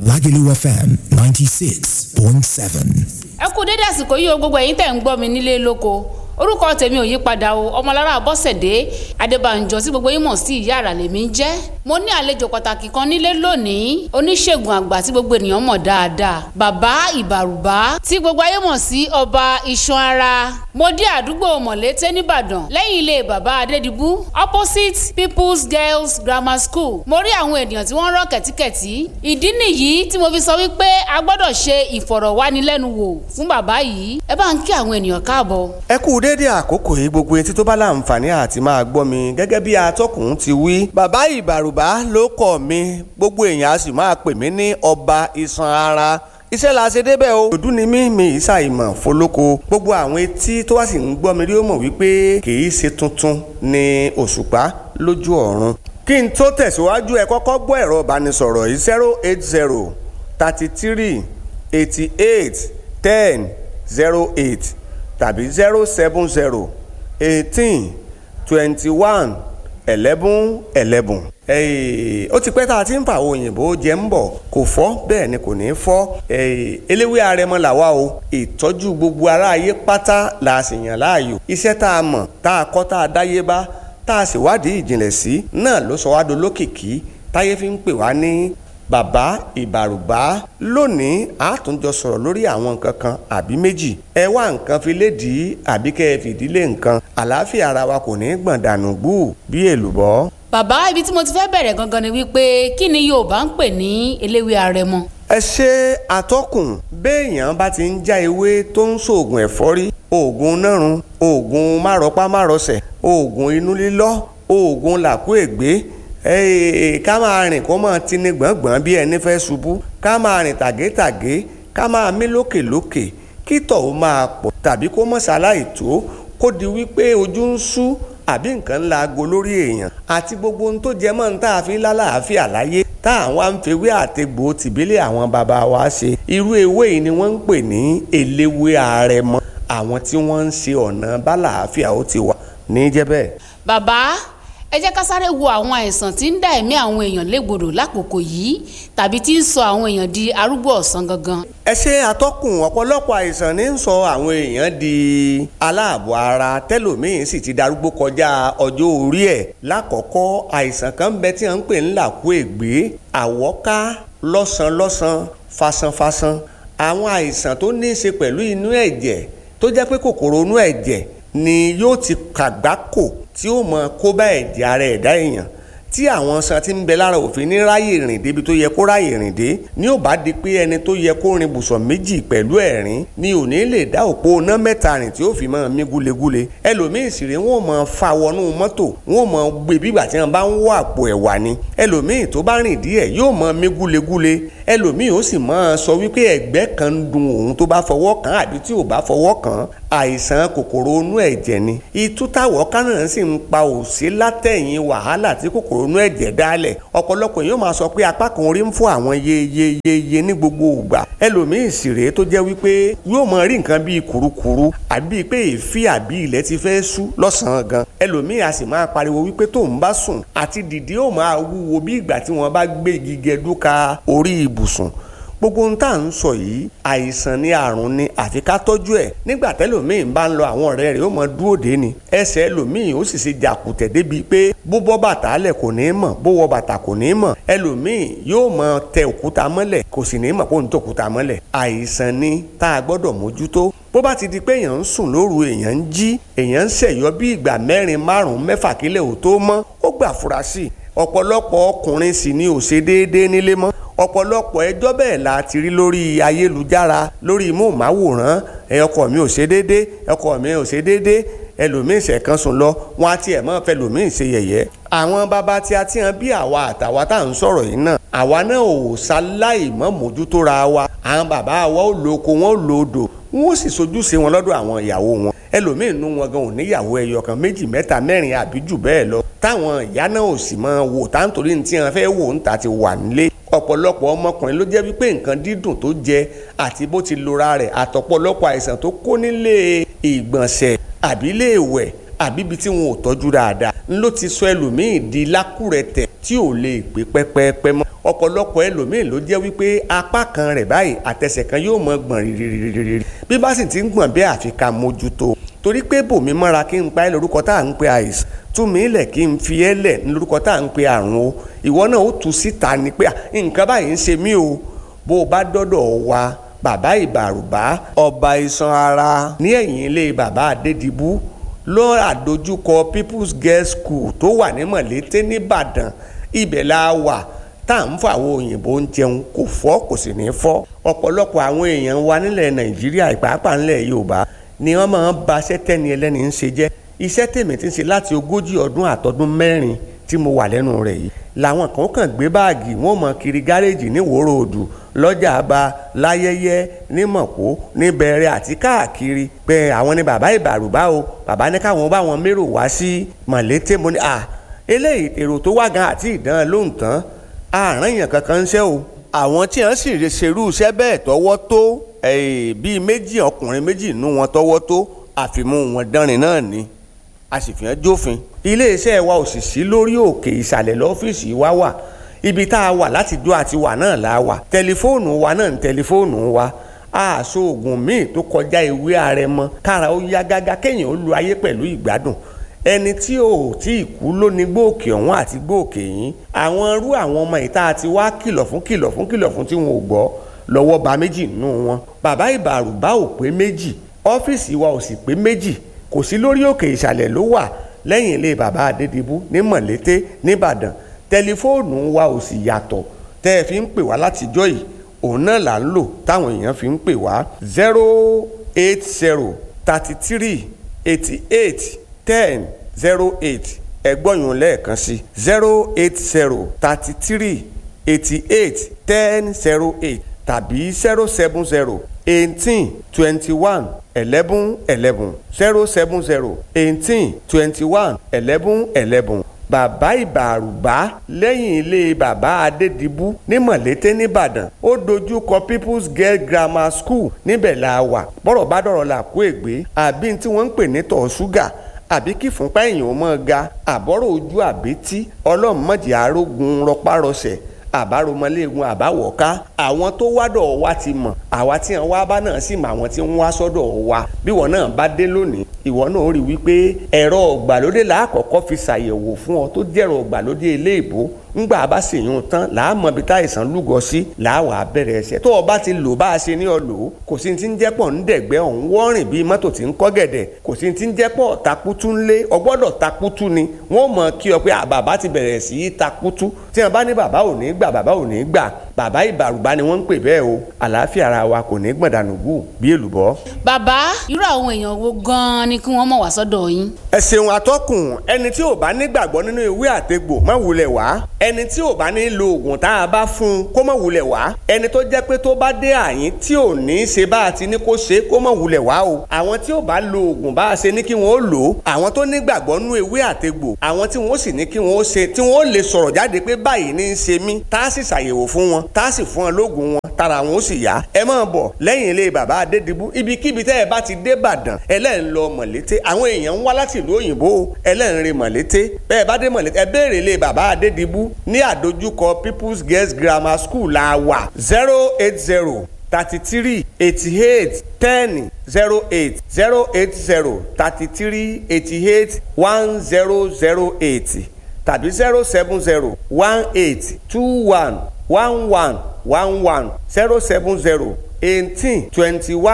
Lagelu FM 96.7. Ẹ kú dédé àsìkò yìí o, gbogbo ẹ̀yin tẹ̀ ń gbọ́ mi nílé lóko. Orúkọ tèmi ò yí padà o, Ọmọlára Bọ́sẹ̀dé Adébànjọ tí gbogbo yín mọ̀ sí Ìyá Àrà lèmi ń jẹ́. Mo ní àlejò pàtàkì kan nílé lónìí, oníṣègùn àgbà tí gbogbo ènìyàn mọ̀ dáadáa, Bàbá Ìbàrùbá tí gbogbo ayé mọ̀ sí Ọba Iṣan Ara. Mo dé àdúgbò Mọ̀lété nìbàdàn, lẹ́yìn ilé bàbá Adédìbú, opposite People's Girls Grammar School. Mo rí àwọn ènìyàn tí wọ́n rọ́ kẹ̀tíkẹ̀tí. Ìdí nìyí tí mo fi sọ wípé a gbọ́dọ̀ ṣe ìfọ̀rọ̀wánilẹ́nuwò fún bàbá yìí. Ẹ bá ń kí àwọn ènìyàn káàbọ̀. Ẹ kú déédéé àkókò yìí, gbogbo etí tó bá láǹfààní àti máa gbọ́ mi. Gẹ́gẹ́ bí atọ́kùn ti wí, Bàbá Ìbàrùbá ló kọ̀ mí, gbogbo èèyàn a sì máa pè mí ní Ọba Iṣan Ara. Iṣẹ́ la ṣe débẹ̀ o. Òdú ni mí, mi ìsàìmọ̀ fọlọ́kọ. Gbogbo àwọn etí tó wá sì ń gbọ́ mi rí ó mọ̀ wípé kì í ṣe tuntun ni òṣùpá lójú ọ̀run. Kí n tó tẹ̀síwájú, ẹ kọ́kọ́ gbọ́ ẹ̀rọ ìbánisọ̀rọ̀ yìí: 08033881008 tàbí 07018211111. Ó ti pẹ́ tá a ti ń fa àwọn òyìnbó jẹ ń bọ̀, kò fọ́, bẹ́ẹ̀ ni kò ní fọ́. Eléwé arẹmọ làwa o. Ìtọ́jú gbogbo ará ayé pátá la sì yàn láàyò. Iṣẹ́ tá a mọ̀, tá a kọ́, tá a dáyé bá, tá a sì wádìí ìjìnlẹ̀ sí náà ló sọ wá dolókìkí táyé fi ń pè wá ní Bàbá Ìbàrùbá. Lónìí, a tún jọ sọ̀rọ̀ lórí àwọn nǹkan kan àbí méjì. Ẹ wá nǹkan fi lédìí àbí kẹ́ ẹ fìdílé nǹkan. Àlàáfíà ara wa kò ní gbọ̀n dànù gbù bí èlùbọ́. Bàbá, ibi tí mo ti fẹ́ bẹ̀rẹ̀ gangan ni wípé kí ni Yorùbá ń pè ní eléwé arẹmọ? Ẹ ṣe àtọkùn. Béèyàn bá ti ń já ewé tó ń ṣoògùn ẹ̀fọ́rí, oògùn nárun, oògùn márọpá márọsẹ̀, oògùn inú lílọ́, oògùn làkúègbé, ká máa rìn kó máa tini gbọ̀ngbọ̀n bí ẹni fẹ́ ṣubú, ká máa rìn tàgétàgé, ká máa mí lókèlókè, kí tọ̀ ó máa pọ̀ tàbí kó mọ̀ ṣaláì tó, kó di wípé ojú ń sú àbí nǹkan ńlá aago lórí èèyàn àti gbogbo ohun tó jẹ mọ́ ní tá a fi lálàáfíà láyé tá àwọn à ń fewé àtegbò tìbílẹ̀ àwọn bàbá wa ṣe. Irú ewé yìí ni wọ́n ń pè ní eléwé àrẹ̀mọ. Àwọn tí wọ́n ń ṣe ọ̀nà bálàáfíà ó ti wà ní jẹ́ bẹ́ẹ̀. Bàbá, ẹ jẹ́ ká sáré wo àwọn àìsàn tí ń dá ẹ̀mí àwọn èèyàn légbodò lákòókò yìí tàbí tí ń sọ àwọn èèyàn di arúgbó ọ̀sán gangan. Ẹ ṣe àtọkùn. Ọ̀pọ̀lọpọ̀ àìsàn ní ń sọ àwọn èèyàn di aláàbọ̀ ara, tẹ́lòmíín sì ti darúgbó kọjá ọjọ́ orí ẹ̀. Lákọ̀ọ́kọ́, àìsàn kan ń bẹ tí wọ́n ń pè ní làkúègbé, àwọ́ká, lọ́sànlọ́sàn, fasanfasan. Àwọn àìsàn tó ní í ṣe pẹ̀lú inú ẹ̀jẹ̀, tó jẹ́ pé kòkòrò inú ẹ̀jẹ̀ ni yóò ti kàgbákò tí ó mọ kó bá ẹ̀jẹ̀ ara ẹ̀dá èèyàn, tí àwọn san tí ń bẹ lára òfin ní ráyè rìn débi tó yẹ kó ráyè rìn dé, ní ò bá di pé ẹni tó yẹ kó rin bùsọ̀ 2 pẹ̀lú ẹ̀rín ni ò ní lè dá òpó iná 3 rìn tí ó fi máa mí gúlegúle. Ẹlòmíì sì rèé, wọn ò máa fa wọnú mọ́tò, wọn ò máa gbé bí ìgbà tí wọn bá ń wọ àpò ẹ̀wà ni. Ẹlòmíì tó bá rìn díẹ̀ yóò máa mí gúlegúle. Ẹlòmíì ó sì máa sọ wípé ẹ̀gbẹ́ kan ń dun òun tó bá fọwọ́ kàn àbí tí ò bá fọwọ́ kàn. Àìsàn kòkòrò inú ẹ̀jẹ̀ ni. Itú táwọ̀ kánà sì ń pa òsí látẹ̀yìn wàhálà tí kòkòrò inú ẹ̀jẹ̀ dálẹ̀. Ọ̀pọ̀lọpọ̀ èèyàn máa sọ pé apá kan orí ń fún àwọn yeyeyeye ní gbogbo ìgbà. Ẹlòmíì sì rèé tó jẹ́ wípé yóò máa rí nǹkan bíi kùrukùru àbí pé èéfín àbí ilẹ̀ ti fẹ́ ṣú lọ́sàn-án gan. Ẹlòmíì a sì máa pariwo wípé tóun bá sùn àti dìde ó máa wúwo bí ìgbà tí wọ́n bá gbé igi gẹdú ka orí ibùsùn. Gbogbo ohun tá à ń sọ yìí, àìsàn ni, àrùn ni, àfi ká tọ́jú ẹ̀. Nígbà tẹ́lòmíì bá ń lọ, àwọn ọ̀rẹ́ rẹ̀ ó mọ dúró dé ni. Ẹsẹ̀ ẹlòmíì ó sì ṣe jàkùtẹ̀ débi pé bó bọ́ bàtà lẹ̀ kò ní mọ̀, bó wọ bàtà kò ní mọ̀. Ẹlòmíì yóò mọ tẹ òkúta mọ́lẹ̀, kò sì ní mọ̀ kó ń tẹ òkúta mọ́lẹ̀. Àìsàn ni tá a gbọ́dọ̀ mójútó. Bó bá ti di pé èèyàn ń sùn lóru, èèyàn ń jí, èèyàn ń ṣẹ̀yọ́ bí ìgbà 4, 5, 6 kílẹ̀ ò tó mọ́, ó gbà fura sí i. Ọ̀pọ̀lọpọ̀ ọkùnrin sì ni ò ṣe déédéé nílé mọ́. Ọ̀pọ̀lọpọ̀ ẹjọ́ bẹ́ẹ̀ la ti rí lórí ayélujára, lórí móhùnmáwòrán. Ẹ ọkọ mi ò ṣe déédé, ọkọ mi ò ṣe déédé. Ẹlòmíín ṣẹ̀kan sùn lọ, wọn á tiẹ̀ mọ́ fẹlòmíín ṣe yẹ̀yẹ́. Àwọn bàbá tí a ti hàn bí àwa àtàwa tá à ń sọ̀rọ̀ yìí náà, àwa náà ò ṣaláì mọ́ mójútó ra wa. Àwọn bàbá wa ó lo oko, wọn ó lo odò, wọn ó sì sojúṣe wọn lọ́dọ̀ àwọn ìyàwó wọn. Ẹlòmíín nú wọn gan ò níyàwó ẹyọ kan, 2, 3, 4 àbí jù bẹ́ẹ̀ lọ, táwọn ìyá náà ò sì máa wò tá nítorí ní tí wọn fẹ́ wò ń ta ti wà nílé. Ọ̀pọ̀lọpọ̀ ọmọkùnrin ló jẹ́ wípé nǹkan dídùn tó jẹ àti bó ti lora rẹ̀ àtọ̀pọ̀lọpọ̀ àìsàn tó kó nílé ìgbọ̀nsẹ̀ àbí ilé ìwẹ̀ Àbí ibi tí wọn ò tọ́jú dáadáa ń ló ti sọ ẹlòmíì di lákùrẹ̀tẹ̀ tí ò lè pé pẹ́pẹ́pẹ́ mọ́. Ọ̀pọ̀lọpọ̀ ẹlòmíì ló jẹ́ wípé apá kan rẹ̀ báyìí, àtẹsẹ̀ kan yóò mọ gbọ̀n rírírírí. Bí bá sì ti ń gbọ̀n bẹ́ẹ̀, àfi ká mójútó, torí pé bòmí mọ́ra kí n pa ẹ́ lórúkọ tá à ń pe àìsàn, tú mi lẹ̀ kí n fi ẹ́ lẹ̀ lórúkọ tá à ń pe àrùn o. Ìwọ náà ó tú síta ni pé nǹkan báyìí ń ṣe mí o. Bó o bá dọ́dọ̀ wa, Bàbá Ìbàrùbá, ọba iṣan ara, ní ẹ̀yìn ilé Bàbá Adédìbú, lọ́ àdójúkọ People's Girls School tó wà ní Mọ̀lété nìbàdàn, ibẹ̀ la wà tá à ń fọ àwọn òyìnbó ń jẹun. Kò fọ́, kò sì ní fọ́. Ọ̀pọ̀lọpọ̀ àwọn èèyàn wa nílẹ̀ Nàìjíríà, ìpàápàá ńlẹ̀ Yorùbá, ni wọ́n máa ń ba iṣẹ́ tẹ́ni ẹlẹ́ni ń ṣe jẹ́. Iṣẹ́ tèmi ti ń ṣe láti 40 ọdún àtọdún 4 tí mo wà lẹ́nu rẹ̀ yìí, làwọn kan kàn gbé báàgì wọn mọ kiri gáréèjì ní Ìwó Ròdù, lọ́jà àbá, láyẹyẹ, ní Mọ̀pó, ní Bẹ̀rẹ̀ àti káàkiri, pé àwọn ni Bàbá Ìbàrùbá o, bàbá ní káwọn bá wọn mérò wá sí Mọ̀lété. Mo ní à eléyìí, èrò tó wá gan àti ìdán lóhùn tán, àárín èèyàn kankan ń ṣe o. Àwọn tí wọ́n sì ṣerú iṣẹ́ bẹ́ẹ̀ tọ́wọ́ tó bíi méjì, ọkùnrin méjì nú wọn tọ́wọ́ tó, àfimú wọn dánrin náà ni, a sì fi hàn jófin. Iléeṣẹ́ wa ò sì sí lórí òkè ìsàlẹ̀ lọ́fíìsì wa wà. Ibi tá a wà láti dó àti wà náà la wà. Tẹlifóònù wa náà ń tẹlifóònù wa. Àṣọ oògùn míì tó kọjá ìwé àrẹ̀mọ, kára ó yá gágá, kéèyàn ó lu ayé pẹ̀lú ìgbádùn. Ẹni tí ò tí ì kú ló ní gbòòkè ọ̀hún àti gbòòkè yín. Àwọn irú àwọn ọmọ ìta àti wá kìlọ̀ fún, kìlọ̀ fún, kìlọ̀ fún tí wọn ò gbọ́, lọ́wọ́ ba méjì nínú wọn. Bàbá Ìbàrùbá ò pé méjì, ọ́fíìsì wa ò sì pé méjì, kò sí lórí òkè, ìsàlẹ̀ ló wà, lẹ́yìn ilé Bàbá Adédìbú ní Mọ̀lété nìbàdàn. Tẹlifóònù wa ò sì yàtọ̀ tẹ́ ẹ fi ń pè wá látijọ́ yìí, òun náà là ń lò táwọn èèyàn fi ń pè wá: 08033881008. Ẹgbọ́nyún lẹ́ẹ̀kan sí: 08033881008 tàbí 07018211111, 07018211111. Bàbá Ìbàrùbá, lẹ́yìn ilé Bàbá Adédìbú ní Mọ̀lété nìbàdàn, ó dojú kọ People's Girl Grammar School, níbẹ̀ la wà. Bọ́rọ̀ bá dọ̀rọ̀ là kó ègbé, àbí tí wọ́n ń pè ní tọ̀ ṣúgà, àbí kí fúnpá èèyàn mọ́ ga, àbọ̀rọ̀ ojú, àbítí ọlọ́run mọ̀jẹ̀ arógun rọpárọsẹ̀, àbáromọléegun, àbáwọ̀ká. Àwọn tó wádọ̀ wa ti mọ̀, àwa tí wọ́n wá bá náà sì mọ̀ àwọn tí wọ́n wá sọ́dọ̀ wa. Bí wọ́n náà bá dé lónìí, ìwọ náà rí wípé ẹ̀rọ ọ̀gbàlódé làákọ̀ọ́kọ́ fi ṣàyẹ̀wò fún ọ, tó jẹ́rọ ọ̀gbàlódé eléèbó. Ńgbà bá sì yún tán, làámọ̀ bí táìsàn lúgọ sí, làwà bẹ̀rẹ̀ ẹsẹ̀. Tó o bá ti lò bá a ṣe ní ọ lò ó, kò sí ti ń jẹ́pọ̀ ń dẹ̀gbẹ́ ọ̀hún wọ́rìn bíi mọ́tò tí ń kọ́ gẹ̀dẹ̀. Kò sí ti ń jẹ́pọ̀ takutu ńlé, ọgbọ́dọ̀ takutu ni. Wọ́n mọ̀ kí ọ pé bàbá ti bẹ̀rẹ̀ sí í takutu. Tí wọ́n bá ní bàbá ò ní gbà, bàbá ò ní gbà, Bàbá Ìbàrùbá ni wọ́n ń pè bẹ́ẹ̀ o. Àlàáfíà ara wa kò ní gbọ̀ndànù gù bí èlùbọ́. Bàbá, irú àwọn èèyàn wo gan-an ni kí wọ́n mọ̀ wá sọ́dọ̀ yín? Ẹ ṣeun, atọ́kùn. Ẹni tí ò bá nígbàgbọ́ nínú ìwé àtegbò, má wulẹ̀ wá. Ẹni tí ò bá ní lo oògùn tá a bá fún un, kó má wulẹ̀ wá. Ẹni tó jẹ́ pé tó bá dé àyín tí ò ní í ṣe bá a ti ní kó ṣe, kó má wulẹ̀ wá o. Àwọn tí ò bá lo oògùn bá a ṣe ní kí wọ́n ó lò ó, àwọn tó nígbàgbọ́ nínú ìwé àtegbò, àwọn tí wọ́n sì ní kí wọ́n ó ṣe, tí wọ́n ó lè sọ̀rọ̀ jáde pé báyìí ní í ṣe mí, tá a sì ṣàyẹ̀wò fún wọn, tá a sì fún wọn lóògùn wọn, tara wọn ó sì yá. Ẹ máa bọ̀ lẹ́yìn ilé Bàbá Adédìbú. Ibikíbi tẹ́ ẹ bá ti dé Ìbàdàn, ẹlẹ́rìn lọ Mọ̀lété. Àwọn èèyàn ń wá láti ìlú òyìnbó, ẹlẹ́rìn re Mọ̀lété. Bẹ́ẹ̀ bá dé Mọ̀lété, ẹ béèrè ilé Bàbá Adédìbú, ní àdójúkọ People's Girls Grammar School la wà. 08033881008, 08033881008 tàbí 07018211111,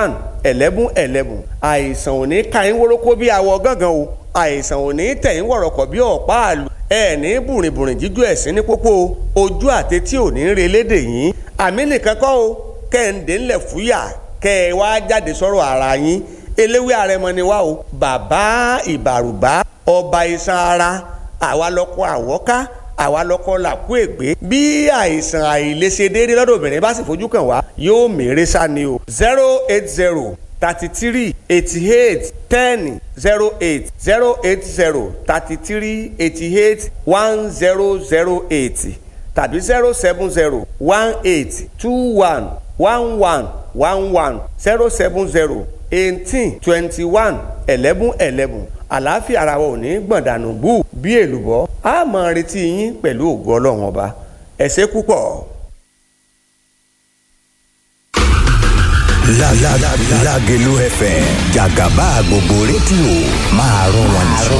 07018211111. Àìsàn ò ní ka yín wórókó bí awọ gángan o. Àìsàn ò ní tẹ̀ yín wọ̀rọ̀kọ̀ bí ọ̀pá àlù. Ẹ ní bùrìnbùrìn jíjú ẹ̀sìn ní pópó. Ojú àti tí ò ní relé dè yín. Àmì nìkan kọ́ o, kẹ́hìndé ńlẹ̀ fúyà, kẹ́ ẹ wá jáde sọ̀rọ̀ ara yín. Eléwé àrẹ̀mọ ni wá o. Bàbá Ìbàrùbá, ọba iṣan ara, àwa lọkọ àwọ́ká, àwa lọkọ làkú ègbé. Bí àìsàn àìlèṣe déédéé lọ́dọ̀ obìnrin bá sì fojú kàn wá, yóò mèrè sá ni o. 08033881008, 08033881008 tàbí 07018211111, 07018211111. Àlàáfíà ara wa ò ní gbọ̀ndànù bú bí èlùbọ́. A máa retí yín pẹ̀lú ògo Ọlọ́run ọba. Ẹ ṣé púpọ̀. Lágelú FM, jàgàbá gbogbo rédíò máa rọ wọn jù.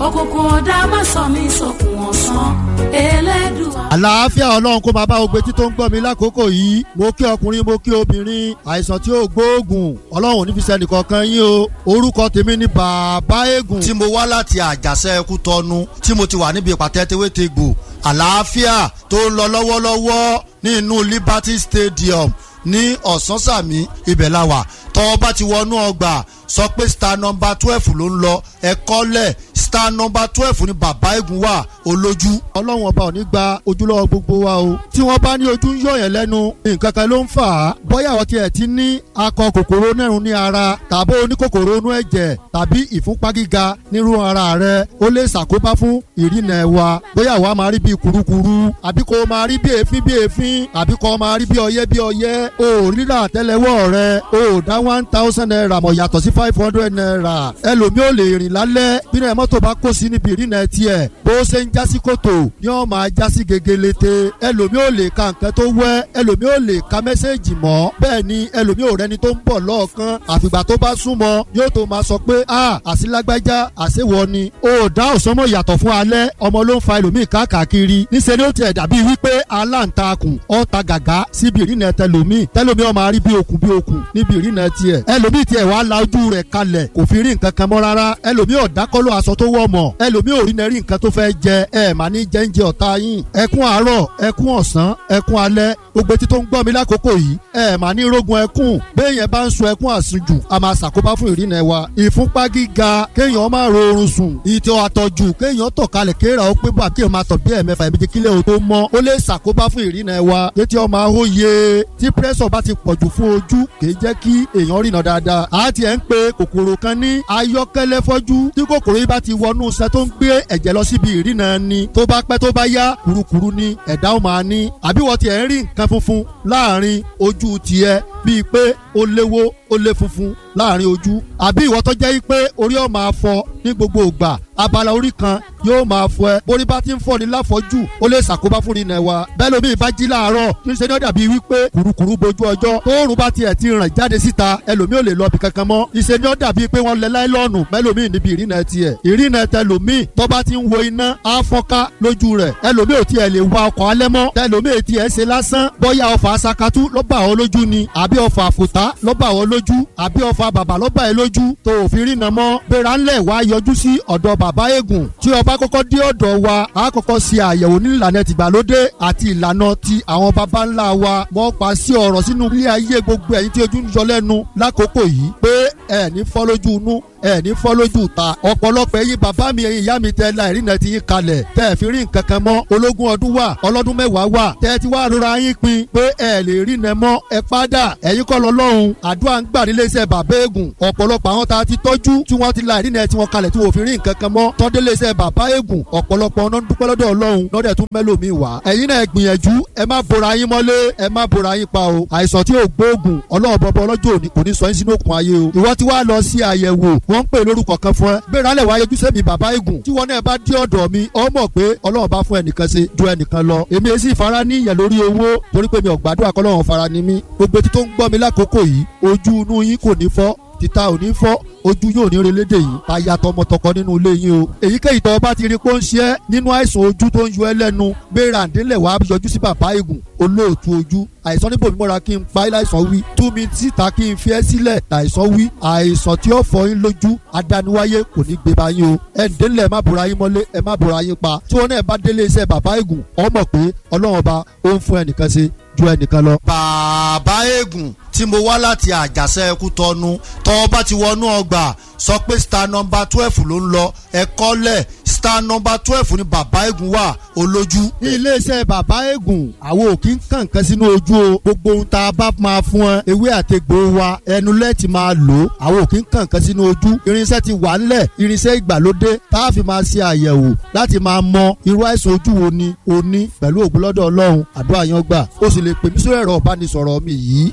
Òkùnkùn ọ̀dà má sọ mí sókun ọ̀sán Ẹlẹ́dùà. Àlàáfíà Ọlọ́run kó máa bá ogbe tí tó ń gbọ́ mi lákòókò yìí. Mo kí ọkùnrin, mo kí obìnrin. Àìsàn tí ó gbóògùn, Ọlọ́run ò ní fi sẹ́nìkankan yín o. Orúkọ tèmi ni Bàbá Eégún. Tí mo wá láti Àjàṣẹ́ Ẹkú Tọnu, tí mo ti wà níbi ìpàtẹ Tewétegbò àlàáfíà tó ń lọ lọ́wọ́lọ́wọ́ ní inú Liberty Stadium ní Ọ̀sánsàmì, ibẹ̀ la wà. Tọ́ bá ti wọnú ọgbà, sọ pé star number 12 ló ń lọ. Ẹ̀kọ́ lẹ̀, star number 12 ní Bàbá Eégún wà olójú. Ọlọ́run ọba ò ní gba ojúlọ́wọ́ gbogbo wa o. Tí wọ́n bá ní ojú ń yọ̀yàn lẹ́nu, nǹkan kan ló ń fà á. Bóyá àwọn tiẹ̀ ti ní akọ kòkòrò nẹ́rùn ní ara, tàbí oníkòkòrò inú ẹ̀jẹ̀, tàbí ìfúnpá gíga nírú ara rẹ, ó lè ṣàkóbá fún ìrìnà ẹ̀wà. Bóyá àwa máa rí bí kurukuru, àbí kò máa rí bí èéfín bí èéfín, àbí kò máa rí bí ọyẹ́ bí ọyẹ́. O ò rírà àtẹ́lẹwọ́ rẹ, o ò dá 1000 naira mọ̀ yàtọ̀ sí 500 naira. Ẹlòmíì ò lè rìn lálẹ́ bí náà mọ́tò bá kó sí níbi ìrìnà tiẹ̀, bó ṣe ń jásí kòtò ni ó máa jásí gegelete. Ẹlòmíì ò lè ka nǹkan tó wẹ́, ẹlòmíì ò lè ka mẹ́sẹ̀gì mọ́. Bẹ́ẹ̀ ni ẹlòmíì ò rẹni tó ń bọ̀ lọ́ọ̀kan, àfìgbà tó bá súnmọ́ yóò tó máa sọ pé a àsìlágbájá àṣewọ ni. O dá òsánmọ̀ yàtọ̀ fún alẹ́, ọmọ ló ń fa ẹlòmíì káàkiri. Níṣẹ́ ni ó tiẹ̀ dàbí wípé aláǹtakùn ọ̀ta gàgá síbi ìrìnà tẹlòmíì. Tẹlòmíì ó máa rí bí okùn bí okùn níbi ìrìnà tiẹ̀. Ẹlòmíì tiẹ̀ wá la ojú rẹ̀ kalẹ̀, kò fi rí nǹkan kan mọ́ rárá. Ẹlòmíì ọ̀dákọ́lọ́ aṣọ tó wọ̀ mọ̀, ẹlòmíì ò rí nẹ́rí nǹkan tó fẹ́ jẹ. Ẹ mà ní jẹ́ńjẹ ọ̀tá yín. Ẹkún àárọ̀, ẹkún ọ̀sán, ẹkún alẹ́, gbogbo etí tó ń gbọ́ mi lákòókò yìí, ẹ mà ní rógun ẹkún. Béèyàn bá ń sun ẹkún àsunjù, a máa ṣàkóbá fún ìrìnà wa. Ìfúnpá gíga, kéèyàn máa ro oorun sùn. Ìtọ̀ àtọ̀jù, kéèyàn tọ̀ kalẹ̀ kéèrà ó pé bá kéèyàn máa tọ̀ bí ẹ̀mẹ́fà ẹ̀mẹ́jẹ kílẹ̀ o tó mọ́, ó lè ṣàkóbá fún ìrìnà wa. Létí ọmọ ahóye, tí pírẹ́sọ̀ bá ti pọ̀jù fún ojú, kìí jẹ́ kí èèyàn rìnà dáadáa. A ti ẹ̀ ń pe kòkòrò kan ní ayọ́kẹ́lẹ́ fọ́jú. Tí kòkòrò yìí bá ti wọnú iṣan tó ń gbé ẹ̀jẹ̀ lọ síbi ìrìnà ni, tó bá pẹ́ tó bá yá, kurukuru ni ẹ̀dá ó máa ní. Àbí wọ́n ti ẹ̀ ń rí nǹkan funfun láàrin ojú tiẹ̀, bíi pé ó léwó ó lé funfun láàrin ojú. Àbí ìwọ tó jẹ́ pé orí ọ̀ máa fọ ní gbogbo ìgbà, abala orí kan yóò máa fọ ẹ. Borí bá ti ń fọ ni láfọjú, ó lè ṣàkóbá fún ìrìnà wa. Bẹ́ẹ̀ lómi ìbá jí láàárọ̀, níṣẹ́ ni ó dàbí wípé kùrukùru bojú ọjọ́. Tóòrùn bá tiẹ̀ ti ràn jáde síta, ẹlòmíì ò lè lọ bí kankan mọ́. Níṣẹ́ ni ó dàbí pé wọ́n lẹ láìlọ́ọ̀nù mẹ́lòmíì níbi ìrìnà tiẹ̀. Ìrìnà tẹlòmíì tó bá ti ń wo iná á fọ́nká lójú rẹ̀. Ẹlòmíì ò tiẹ̀ lè wa ọkọ̀ alẹ́ mọ́. Tẹlòmíì tiẹ̀ ṣe lásán, bóyá ọfà sakatu ló bà ọ́ lójú ni, àbí ọfà àfòtá ló bà ọ́ lójú, àbí ọfà bàbà ló bà ẹ́ lójú tó ò fi rìnà mọ́. Gbéra ńlẹ̀ wá yọjú sí ọ̀dọ̀ Bàbá Eégún. Tí ó bá kọ́kọ́ dé ọ̀dọ̀ wa, a kọ́kọ́ ṣe àyẹ̀wò ní ìlànà tìgbàlódé àti ìlànà ti àwọn baba ńlá wa. Wọ́n pa sí ọ̀rọ̀ sínú ilé ayé gbogbo ẹ̀yin tí ojú ń yọ lẹ́nu lákòókò yìí pé ẹ̀ ní fọ́ lójú inú, ẹ ní fọ́ lójú ta. Ọ̀pọ̀lọpọ̀ ẹ̀yin bàbá mi, ẹ̀yin ìyá mi, tẹ la ìrìnà ti yín kalẹ̀, tẹ ẹ̀ fi rí nǹkan kan mọ́. Ológun ọdún wà, ọlọ́dún mẹ́wàá wà, tẹ ti wá rora yín pin pé ẹ lè rìnà mọ́. Ẹ padà, ẹ̀yin kọ́ lọ́lọ́run. Àdúrà ń gbà nílé iṣẹ́ Bàbá Eégún. Ọ̀pọ̀lọpọ̀ àwọn tá a ti tọ́jú tí wọ́n ti la ìrìnà tí wọ́n kalẹ̀ tí wọ́n fi rí nǹkan kan mọ́, tọ́dé lé iṣẹ́ Bàbá Eégún, ọ̀pọ̀lọpọ̀ ọ̀nà dúpẹ́ lọ́dọ̀ Ọlọ́run lọ́dẹ̀ tún mẹ́lòmíì wá. Ẹ̀yin náà gbìyànjú, ẹ má bora yín mọ́lé, ẹ má bora yín pa o. Àìsàn tí ò gbóògùn, Ọlọ́run bọ́bọ́ ọlọ́jọ́ òní kò ní sọ yín sínú òkun ayé o. Ìwọ ti wá lọ sí àyẹ̀wò, wọ́n ń pè lórúkọ kan fún ẹ. Gbéra lẹ̀ wá yọjú sẹ́mi Bàbá Eégún. Tí wọ́n náà bá dé ọ̀dọ̀ mi, ọ mọ̀ pé Ọlọ́run bá fún ẹnìkan ṣe ju ẹnìkan lọ. Èmi èsì ìfara ní ìyẹn lórí owó, torí pé mi ò gbàdúrà kọ́lọ́run fara ni mí. Gbogbo etí tó ń gbọ́ mi lákòókò yìí, ojú inú yín kò ní fọ́, títa ò ní fọ́, ojú yóò ní relédè yìí, táyà tọmọtọkọ nínú ilé yín o. Èyíkéyìí tó bá ti rí pé ó ń ṣe é nínú àìsàn ojú tó ń yọ ẹ́ lẹ́nu, gbéra ǹdínlẹ̀ wàá yọjú sí Bàbá Eégún olóòtú ojú. Àìsàn níbo mi mọ́ra kí n pa ẹ́ láìsàn wí, tú mi síta kí n fi ẹ́ sílẹ̀ láìsàn wí. Àìsàn tí ó fọ yín lójú adániwáyé kò ní gbé ba yín o. Ẹ ǹdínlẹ̀, má bora yín mọ́lé, ẹ má bora yín pa. Tí wọn náà bá délé iṣẹ́ Bàbá Eégún, ọ mọ̀ pé Ọlọ́run ọba ó ń fún ẹnìkan ṣe ju ẹnìkan lọ. Bàbá Eégún tí mo wá láti Àjàṣẹ́ Ẹkú Tọnu, tọ́ bá ti wọnú ọgbà, sọ pé star number 12 ló ń lọ. Ẹ̀kọ́ lẹ̀, star number 12 ní Bàbá Eégún wà olójú. Ní iléeṣẹ́ Bàbá Eégún, àwọn ò kí ń kàn kan sínú ojú o. Gbogbo ohun tá a bá máa fún ẹ, ewé àtegbò wa, ẹnu lẹ́ẹ̀tì máa lò ó. Àwọn ò kí ń kàn kan sínú ojú. Irinṣẹ́ ti wà ńlẹ̀, irinṣẹ́ ìgbàlódé tá a fi máa ṣe àyẹ̀wò láti máa mọ irú àìsàn ojú wo ni o ní. Pẹ̀lú ògùn lọ́dọ̀ Ọlọ́run, àdúrà yan gbà. O sì lè pè mí sórí ẹ̀rọ ìbánisọ̀rọ̀ mi yìí,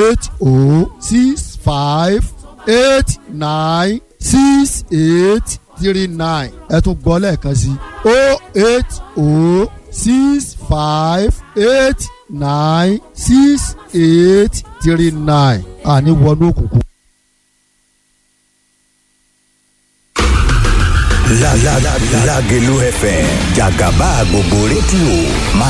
eight o 6 5 8 9 6 8 3 9. Ẹ tún gbọ́ lẹ́ẹ̀kan sí o 8 o 6 5 8 9 6 8 3 9. Àní wọnú òkùnkùn. Lágelú FM, jàgàbá gbogbo rédíò máa.